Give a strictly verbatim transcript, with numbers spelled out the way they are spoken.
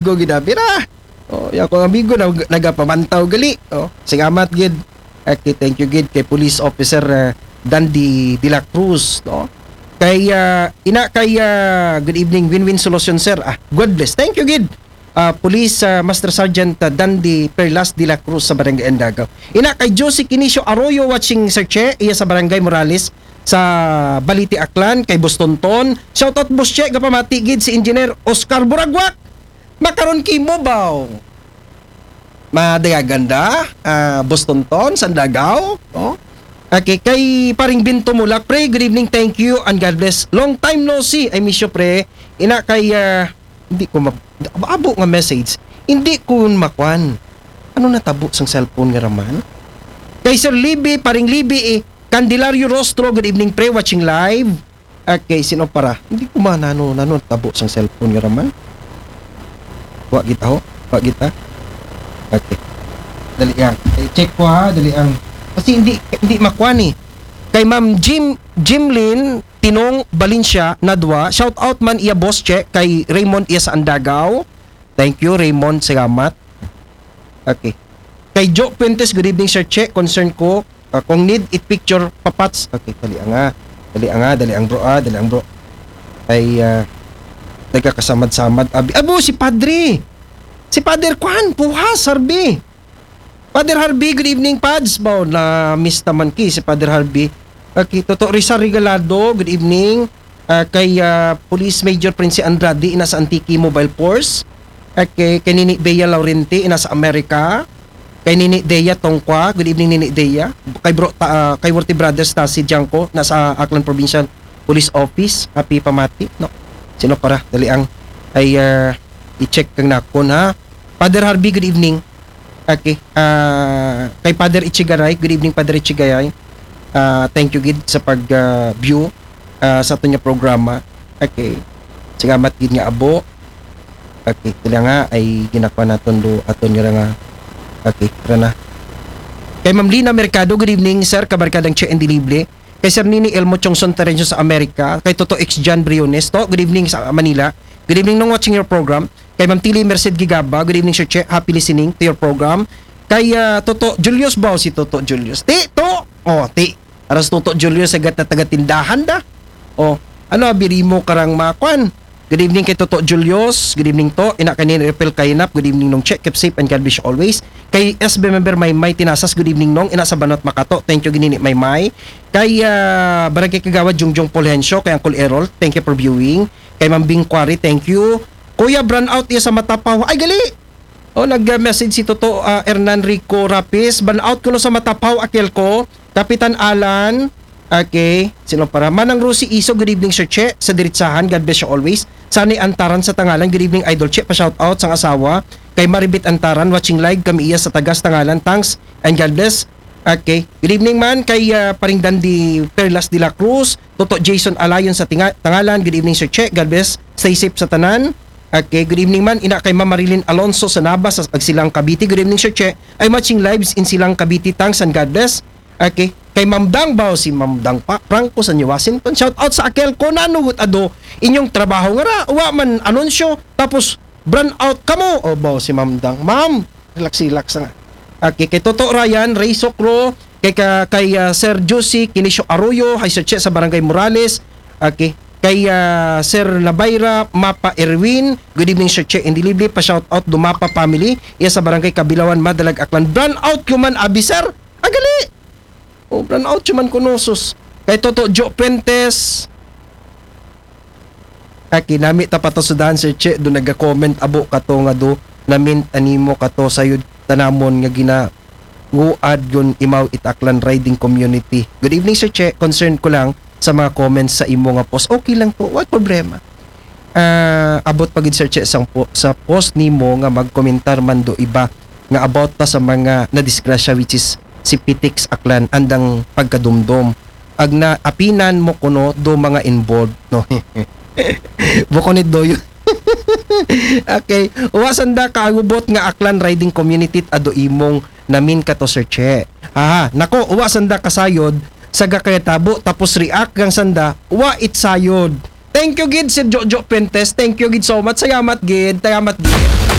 Amigo gid abi ra. Oh, ya ko amigo na nagapamantaw gali. Oh, salamat gid. Okay, thank you gid kay Police Officer, uh, Dandy de la Cruz, no? Kay, uh, ina kay, uh, good evening, Win-Win Solution, sir. Ah, God bless. Thank you gid. Uh, Police, uh, Master Sergeant, uh, Dandy Perlas de la Cruz sa Barangay Andagaw. Ina kay Josie Kinisio Arroyo watching, Sir Che, iya sa Barangay Morales sa Balite, Aklan, kay Boston Ton. Shout out, Boss Che, gapamati gid si Engineer Oscar Buragwak. Makaron kimo baw. Madagaganda, ah, Boston Ton, Sandagaw, no? Okay, kay Paring Binto Mulak, pre, good evening, thank you, and God bless. Long time no see, I miss you, pre. Ina kay, ah, hindi ko mag-, abo nga message. Hindi ko makwan. Ano natabo sang cellphone nga raman? Kay Sir Libby, Paring Libby, eh, Candelario Rostro, good evening, pre, watching live. Okay, sino para? Hindi ko man ano, ano tabo sang cellphone nga raman. Wa kita ho? Wa kita? Okay. Dali ang. Eh, check ko ha, dali ang. Kasi hindi, hindi makuha ni. Kay Ma'am Jim, Jimlyn Tinong Valencia Nadwa, shout out man iya, Boss Che, kay Raymond iya sa Andagaw. Thank you, Raymond. Salamat. Okay. Kay Joe Fuentes, good evening, Sir Che. Concern ko, ah, kung need it picture, papats. Okay, dali ang, ah. Dali ang, ah. Dali ang, bro, ah. Dali ang, bro. Ay, ah, nagkakasamad-samad. Abi, abo, si Padre. Si Father Kwan, Puhas, Harvey. Father Harvey, good evening, Pads. Baw, na-miss naman ki si Father Harvey. Okay, Toto Rizal Regalado, good evening. Ah, kay, ah, Police Major Prince Andrade, ina sa Antique Mobile Force. Okay, kay Nini Bea Laurenti, ina sa Amerika. Kay Nini Dea Tongkwa, good evening, Nini Dea. Kay bro, ta-, ah, kay Worthy Brothers, Tasi Diangco, nasa Aklan Provincial Police Office. Happy pamati, no? Sino para? Dali ang ay, ah, i-check kang nakon, ha? Father Harvey, good evening. Okay. Ah, kay Father Ichigaray, good evening, Father Ichigaray. Ah, thank you gid sa pag, ah, view, ah, sa aton nga programa. Okay. Salamat gid nga abo. Okay, sila nga ay ginakuha naton do aton nga nga. Okay, tara na. Kay Ma'am Lina Mercado, good evening, sir, kabarkadang Che and Dilible. Kay Sir Nini Elmo Chongson Terencio sa Amerika. Kay Toto X John Briones, to, good evening sa Manila. Good evening, Nong, watching your program. Kay Ma'am Tili Merced Gigaba, good evening, Sir Che. Happy listening to your program. Kay, ah, Toto Julius ba, si Toto Julius? Ti, to! Oh, ti. Aras Toto Julius, sa gata taga tindahan da. Oh, ano, abiri mo karang makwan. Good evening kay Toto Julius. Good evening to. Ina kay Nini Repel Kainap. Good evening, Nong Che. Keep safe and God bless you always. Kay S B member Maymay Tinasas. Good evening, Nong. Ina sa Banot Makato. Thank you, ginini Maymay. Kay, ah, Barangay Kagawad Jungjung Fulgencio. Kay Uncle Errol. Thank you for viewing. Kay Ma'am Bing Quarry. Thank you. Kuya, brownout iya sa Matapaw. Ay, gali! Oh, nag-message si Toto, ah, Hernan Rico Rapis. Brownout kuno sa Matapaw, Akelco. Kapitan Alan. Okay. Sino para? Manang Rosie Iso, good evening, Sir Che. Sa Diritsahan, God bless you always. Sunny Antaran sa Tangalan, good evening, Idol Che. Pa-shout out sang asawa. Kay Maribit Antaran, watching live kami iya sa Tagas, Tangalan. Thanks and God bless. Okay. Good evening man kay, ah, Paring Dandy Perlas de la Cruz, Toto Jason Alayon sa Tinga-, Tangalan. Good evening, Sir Che. God bless. Stay safe sa tanan. Okay, good evening man. Ina kay Ma'am Marilyn Alonso sa Nabas, sa Agsilang, Cavite. Good evening, Sir Che. I'm watching lives in Silang, Cavite. Thanks and God bless. Okay. Kay Ma'am Dang Bao, si Ma'am Dang Pa-, Franco sa New Washington. Shout out sa Akelco, nanugot ado inyong trabaho nga ra, wa man anunsyo. Tapos, brownout kamo. O, bao si Ma'am Dang. Ma'am, relax, relax nga. Okay, kay Toto Ryan, Ray Sokro, kay ka-, kay, ah, Sir Josie Kinisio Arroyo, hi Sir Che sa Barangay Morales. Okay, kay, ah, Sir Nabayra Mapa Erwin, good evening, Sir Che and Dilible, pa-shout out do Mapa family, iya sa Barangay Kabilawan, Madalag, Aklan. Brownout ko man, abi, sir. Agali! O, brownout siya man kuno, sus. Kay Toto Joe Fuentes. Aki, nami ta patasudan, Sir Che, do naga-comment abo kato nga do, namint animo kato sayod tanamon nga ginaguad gun imaw it Aklan Riding Community. Good evening, Sir Che. Concern ko lang sa mga comments sa imo nga post. Okay lang po. What problema? Ah, abot pa gid, Sir Che, sang po, sa post nimo nga magkomentar man do iba nga about pa sa mga nadisgrasya, which is si Pitix Aklan, andang pagkadumdom. Ag na apinan mo kuno do mga involved, no? Bukon it do yun. Okay. Wa sanda kaagubot nga Aklan Riding Community ado imong namin kato, Sir Che. Aha, nako, wa sanda kasayod sa gakayatabo tapos react gang sanda, wa it sayod. Thank you gid, Sir Jojo Pentes. Thank you gid so much. Salamat gid. Salamat gid.